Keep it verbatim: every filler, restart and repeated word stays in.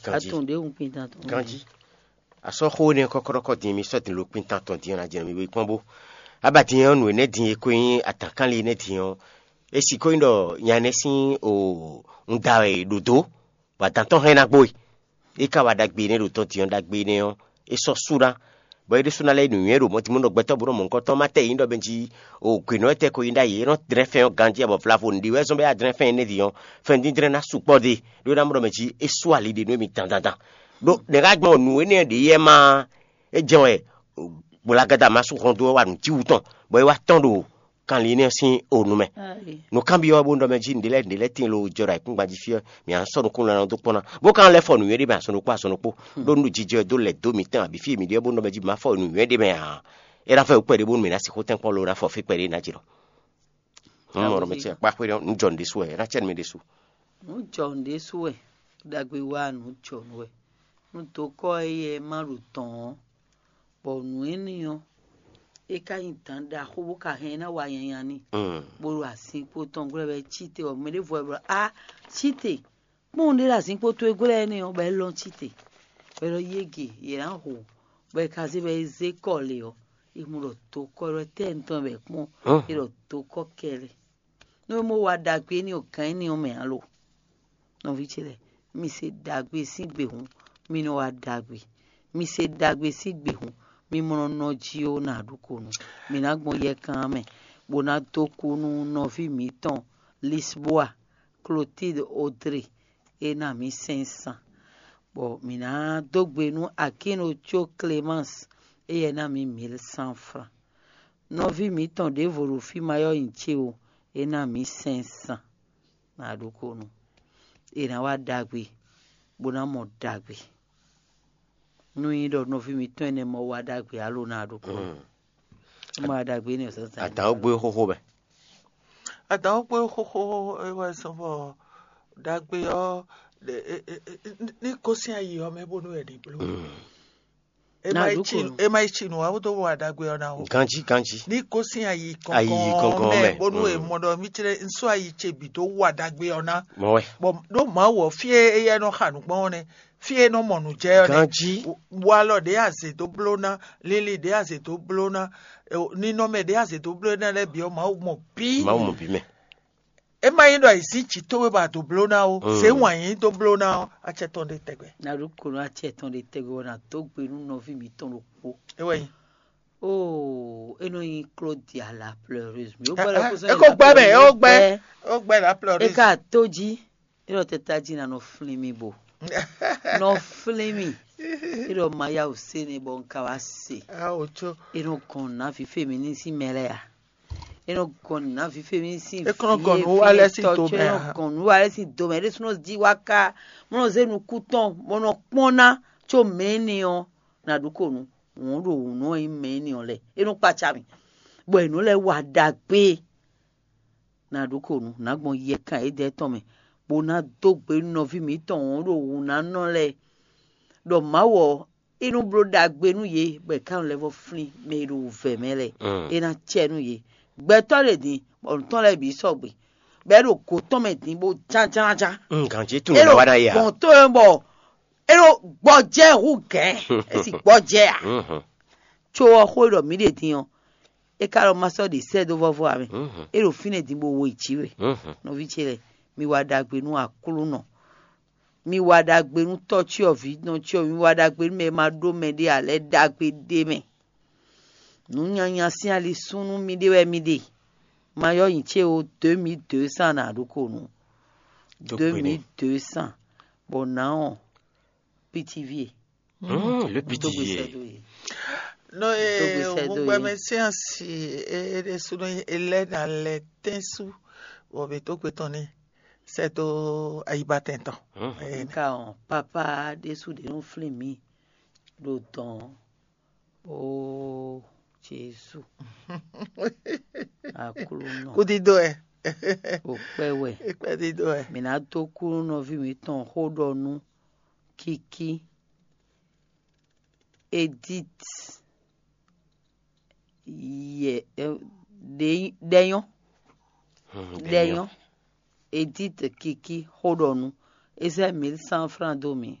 Ganji. Atun ɖě hun kpin tantɔn. Ganji. Asɔ́ xó énɛ́ kɔ́kɔ́ɖɔkɔ́ din mi sɔ́ din lo kpin tantɔn din ɔ́ ná jɛ nɔ mi wé kpɔ́n bó. Aba din ɔ́, nǔ énɛ́ din e ko nyí atǎnkanlin énɛ́ din ɔ́, é sixó nyí ɖɔ nya énɛ́ sín o un da wɛ è ɖǒ dó, bɔ adǎn tɔn hɛn ná gbo e. É ka wa ɖagbe énɛ́ ɖo tɔn din ɔ́, ɖagbe énɛ́ ɔ́, é sɔ́ sú ná, bɔ é ɖésú ná lɛ́ nǔnywɛ́ ɖo mɔ̌ din mɔ ɖɔ gbɛtɔ́ bó nɔ mɔ nukɔn tɔn má tɛ nyí ɖɔ mɛ jí o gwe nɔ́ tɛ ko nyí ɖ'ayǐ, é nɔ dlɛ́n fɛn ɔ́ ganjí, bɔ vlavo nǔɖé wɛ zɔ́n bɔ é wá dlɛ́n fɛn énɛ́ din ɔ́, fɛn díndrɛ́n ná sukpɔ́ ɖe, ɖó é ná mɔ ɖɔ mɛ jí é sú ali ɖe nú émí dandandan. Ɖó nɛ̌ ká gbɔn nǔ énɛ́ ɖě yɛ má é jɛ́n wɛ gbolagadá ma sú hɔn dó wá nǔ cí wú tɔn, bɔ é wá tɔ́n ɖo kanlin énɛ́ sín o nu mɛ. Nǔkanbyɔ́ bó nɔ mɛ jí nǔɖé lɛ́ɛ nǔɖé lɛ́ɛ tíin lo jɔ ɖo ayǐkúngban jí fí ɔ́, mǐ á sɔ́ nukúnnú ná dó kpɔ́n ná, bó ka lɛ́ fɔ nǔnywɛ́ ɖé mɛ azɔn ɖokpó azɔn ɖokpó, ɖó nú jijɛ dó lɛ̌ dó mǐtɔn abǐ fí e mǐ ɖe ɔ́, bó nɔ mɛ jí mǐ má fɔ nǔnywɛ́ ɖé mɛ ǎ. É ná fɛ wú kpɛɖé bónú mǐ ná sixú tɛ́nkpɔ́n lo ná fɔ fí kpɛɖé ná jlɔ́. Nǔ mɔ ɖɔ mɛ ce kpá xwé ɖɔ nǔ jɔ nǔ ɖésú wɛ, é ná cɛ nú mɛ ɖésú. Nǔ jɔ nǔ ɖésú wɛ, ɖagbe wá nǔ jɔ nǔ wɛ. Nú dokɔ́ éyɛ́ má ɖo tɔ̌n ɔ́, bɔ nǔ énɛ́ ɔ́, é ka nyí dǎn ɖaxó bó ka hɛn ná wa nyanya n'i, bó ɖo azinkpo tɔn glɔ́ wɛ cí te, bɔ mɛ ɖěvo wɛ bló a cí te, kpɔ́n ɖé ɖo azinkpo towe glɔ́ énɛ́ ɔ́, bɔ é lɔ́n cí te, bɔ é ɖɔ yége yě ná hu, bɔ è ka zé bɔ é zé kɔ lě ɔ́, è mɔ ɖɔ dokɔ́ ɖɔ tɛ́ tɔn wɛ kpɔ́n, é ɖɔ dokɔ́ kɛlɛ. Nú é mɔ wa ɖagbe énɛ́ ɔ́, gǎn énɛ́ ɔ́ mɛ ǎ lo? Nɔví ce lɛ́ɛ, mi se ɖagbe sín gbe hǔn, mi nɔ wa ɖagbe. Mi se ɖagbe sín gbe hǔn, mi mɔ nɔ nɔ jí ó ná ɖu ko nú. Mi ná gbɔn yɛkan mɛ, bó ná dó kú nú nɔví mǐtɔn Lisboa, Clotilde Odre, é ná mǐ sɛn san, bɔ mǐ ná dó gbe nú Akíno có Clémence, éyɛ́ ná mǐ mǐl cent francs. Nɔví mǐtɔn ɖěvo ɖo fí ma ɔ́ nyi ce o, é ná mǐ sɛn san. Ná ɖokónú, è nǎ wa ɖagbe, bó ná mɔ ɖagbe. Nú nyí ɖɔ nɔví mǐtɔn énɛ́ mɔ wa ɖagbe alo ná ɖokónú, é mɔ wa ɖagbe énɛ́ zǎnzǎn. Adǎn ɔ́ gbé xóxó mɛ. Adǎn ɔ́ gbé xóxó é wɛ zɔ́n bɔ ɖagbe ɔ́ ní gosín ayi ɔ́ mɛ bónú wɛ ní bló. É má yi ci nǔ, é má yi ci nǔ ǎ, bó dó wa ɖagbe ɔ́ ná o. Ganjí, ganjí. Ní gosín ayi kɔnkɔn mɛ, bónú è mɔ ɖɔ mí clé un sɔ́ ayi ce bǐ dó wa ɖagbe ɔ́ ná. Mɔ̌ wɛ. Bɔ ɖó Mawu ɔ́, fí e éyɛ́ nɔ xa nǔ gbɔn ɔ́ nɛ́, fí e nɔ mɔ nǔ jɛ ɔ́ nɛ́. Ganjí. Walɔ ɖě azě dó bló ná, lili ɖě azě dó bló ná, ninɔmɛ ɖě azě dó bló ná lɛ́ɛ bǐ ɔ́, Mawu mɔ bǐ. Mawu mɔ bǐ mɛ. É má nyí ɖɔ è zǐn jǐ towe bɔ a dǒ bló ná ó, zě wǎn yí dó bló ná ɔ́, acɛ tɔn ɖe tɛgbɛ. Ná ɖó ko nú acɛ tɔn ɖe tɛgbɛ bɔ ná dó gbe nú nɔví mǐtɔn ɖokpó. É wɛ nyí. Óo, é nɔ nyí Claudia la pleureuse. Mi ó gbɛ́ lɔ kó sɔ́. É kó gbɛ́ mɛ, é ó gbɛ́, é ó gbɛ́ la pleureuse. É ka tó jí, é ɖɔ tɛ tají ná nɔ flín mì bo. Nɔ flín mì. É ɖɔ ma yá wǔ sé nɛ bɔ un ka wá se. Á wò có. É nɔ gɔn nǔ ná fífé mi ní sín mɛ lɛ́ɛ a? É nɔ gɔn nǔ ná fífé mi sín. É kɔn nɔ gɔn nǔ wa lɛ́ɛ sín do mɛ. É nɔ gɔn nǔ wa lɛ́ɛ sín do mɛ. É ɖésúnɔ jí wá ká mɔ nɔ zé nukún tɔn bɔ nɔ kpɔ́n ná có mɛ énɛ́ ɔ́, ná ɖu ko nǔ. Wǔn ɖo wǔ nɔ nyí mɛ énɛ́ ɔ́ lɛ́ɛ. É nɔ kpaca mì, bɔ è nǔ lɛ́ɛ wa ɖagbe. Ná ɖu ko nǔ, ná gbɔn yɛkan édɛɛ tɔn mɛ, bó ná dó gbe nú nɔví mǐtɔn wǔn ɖo wǔ ná nɔ lɛ́ɛ, ɖɔ Mawu ɔ́, é nɔ bló ɖagbe nú yě, bɔ è ká nɔ lɛ́ vɔ́ flín mɛ e ɖo wǔvɛ́ mɛ lɛ́ɛ. É ná cɛ nú yě. Gbɛtɔ́ ɖě din, bɔ nǔ tɔn lɛ́ɛ bǐ sɔgbe, bɔ é ɖo gǒ tɔn mɛ din bó jánjánján. Ganjí tunwun é ɖo wa ná ya. Gbɔn tó e bɔ é ɖo gbɔjɛ́ hú gɛ̌, é sì gbɔjɛ́ ǎ. Có ɔ́ xó e ɖɔ mǐ ɖe din ɔ́, é ka ɖɔ ma sɔ́ ɖe sɛ́ dó vɔ́vɔ́ ǎ mɛ. É ɖo fínɛ́ din bó wo yi jǐ we. Nɔví ce lɛ́ɛ, mi wa ɖagbe nú Aklúnɔ. Mi wa ɖagbe nú tɔ́ cyɔvǐ nɔ cyɔvǐ, mi wa ɖagbe nú mɛ e ma ɖó mɛɖé ǎ lɛ́ɛ ɖagbe ɖ'é mɛ. Nǔ nyanya sín ali súnnu miɖée wɛ mi ɖe. Ma yɔ́ nyi ce ó, deux mille deux cents ná ɖo ko nú. Deux mille deux cents. Bɔ nǎ ɔ́, pitivié. Le pitivié. Nɔ e ŋugbɛmɛ sín asi e ɖésúnɔ e lɛ́ ná lɛ tɛ́n sú, bɔ mǐ dó gbe tɔn n'i sɛ́ dó ayibatɛn tɔn. Nka ɔn, papa ɖésú ɖě nɔ flín mǐ ɖo dɔn. Ó Jezu. Aklúnɔ. Kúdídó ɛ. Ó kpɛ́ wɛ. Kúdídó ɛ. Mǐ ná dó kú nú nɔví mǐtɔn xó ɖɔ nú Kiki, Edith, yɛ, ɖɛnyɔ́, ɖɛnyɔ́, Edith Kiki xó ɖɔ nú, é zɛ mil cent francs dó mì.